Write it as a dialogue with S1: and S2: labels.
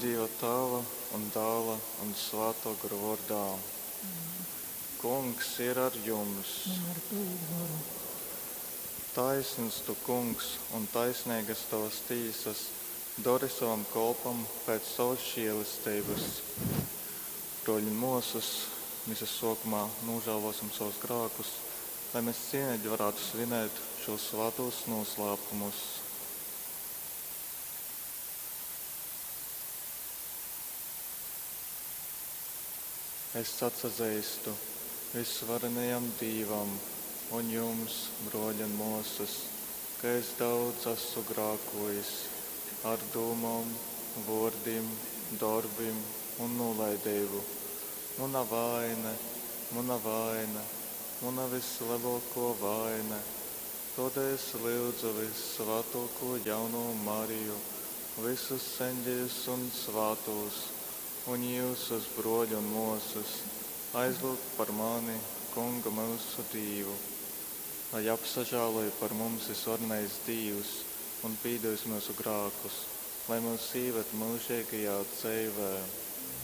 S1: Dieva Tēva un Dēla un Svētā Gara vārdā. Kungs ir ar jums.
S2: Un ar tavu goru.
S1: Taisns tu, kungs, un taisnīgas tavas tīsas, dori savam kolpam pēc savas žēlestības. Broļi un māsas, misas sākumā nožēlosim savus grēkus, lai mēs cienīgi varētu svinēt šos svētos noslēpumus. Es atsazīstu visvarenajam Dīvam un jums, broļi un māsas, ka es daudz esmu grākojis ar dūmām, vārdiem, darbiem un nolaidību. Mana vaina, mana vaina, mana vislielāko vaina. Tādēļ es lūdzu vissvētāko jauno Mariju, visus eņģeļus un svētos, un jūsus broļu un māsas, aizlūgt par mani, Kunga mūsu Dīvu. Lai apsažāloja par mums visvarenais Dīvs un pīdevis mūsu grākus, lai mūs ieved mūžīgajā dzīvē.